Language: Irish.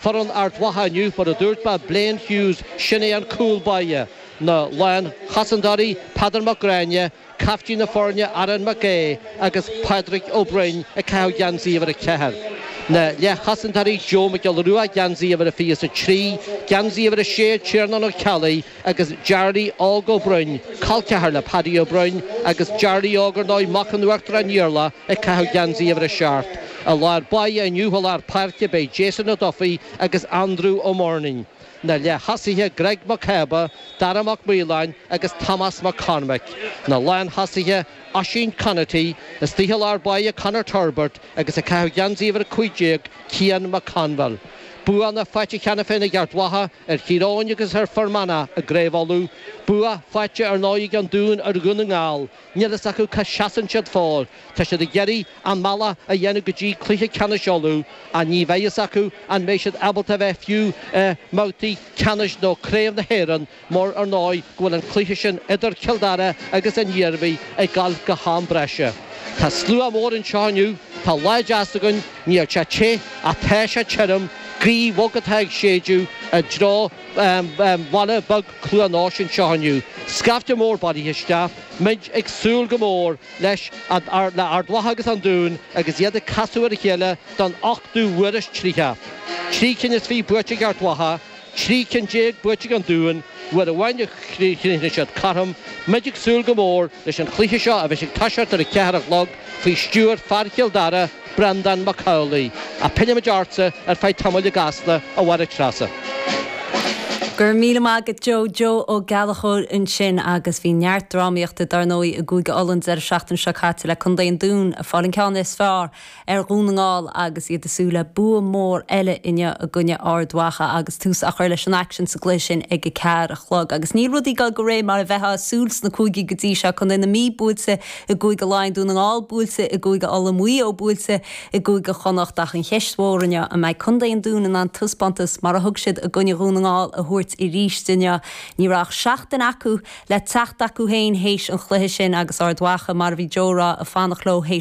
Foireann Ard Mhacha inniu, mar a dúirt mé, Blaine Hughes, sin é an cúl báire. Na lánchosantóirí, Peadar Mac Gráinne, caiftín na foirne Aaron McGaugh agus Pádraig Ó Broin ag caitheamh geansaí uimhir 4. Na leathchosantóirí, Joe Mac Giolla Rua, geansaí uimhir a 23, geansaí uimhir 6 Tiarnán Ó Ceallaigh agus Jarly Óg Ó Broin, col ceathar le Paddy Ó Broin agus Jarly Óg ar ndóigh mac an Uachtaráin Iarlaith ag caitheamh geansaí uimhir a 7. I lár báire inniu i lár páirce beidh Jason Ó Dufaigh agus Andrew Ó Murnain. Na leath-thosaithe Greg Mac Cába, Dara Mac Maoláin agus Tomás Mac Cormaic. Na lán-thosaithe Oisín Conaty, istigh i lár báire Conor Turbitt agus ag caitheamh geansaí uimhir 15 Cian McConville. Buanna faighte cheana féin ag Ard Mhacha ar Thír Eoghain agus ar Fhear Manach i gCraobh Uladh. Bua faighte ar ndóigh ag an Dún ar Dhún na nGall. Níl fhios acu cá seasann siad fóill. Tá siad ag iarraidh an mbealach a dhéanamh go dtí cluiche ceannais Uladh ach ní bheidh fhios acu an mbeidh siad ábalta a bheith fiú i mbabhtaí ceannais nó Craobh na hÉireann mar ar ndóigh go bhfuil an cluiche sin idir Cill Dara agus an Iarmhí ag dul go ham breise. Tá slua mór anseo inniu, tá lá deas againn, níl sé te ach tá sé tirim, gaoth bhog atá ag séideadh i dtreo bhaile beag Cluain Eois anseo inniu. Scaifte mór bailithe isteach, muid ag súil go mór leis le Ard Mhacha agus an Dún agus iad ag casadh ar a chéile don ochtú huair is 30. 23 buaite ag Ard Mhacha, 13 cinn buaite ag an Dún, uair amháin a chríochnaigh siad cothrom. Muid ag súil go mór leis an chluiche seo a bheidh ag toiseacht ar a ceathair a chlog faoi stiúir fear Chill Dara, Breandán Mac Amhlaigh. Ach pillfimid ortsa ar feadh tamaill i gCasla, a Mháire Treasa. Go raibh míle maith agat Joe. Joe Ó Gallchóir ansin agus bhí neart drámaíochta dar ndóigh i gCúige Uladh an deireadh seachtaine seo caite le Contae an Dúin ag fáil an ceann is fearr ar Dhún na nGall agus iad ag súil le bua mór eile inniu i gcoinne Ard Mhacha agus tús á chur leis an aicsean sa gcluiche sin ag a ceathair a chlog. Agus níl rudaí ag dul de réir mar a bheifeá ag súil sna cúigí go dtí seo, Contae na Mí buailte i gCúige Laighean, Dún na nGall buailte i gCúige Uladh, Maigh Eo buailte i gCúige Chonnacht ach an cheist mhór inniu, an mbeidh Contae an Dúin in ann taispeántas mar a thug siad i gcoinne Dhún na nGall a thabhairt arís inniu? Ní raibh ach seachtain acu le teacht acu féin théis an chluiche sin agus Ard Mhacha, mar a bhí Joe a rá, ag fanacht leo théis.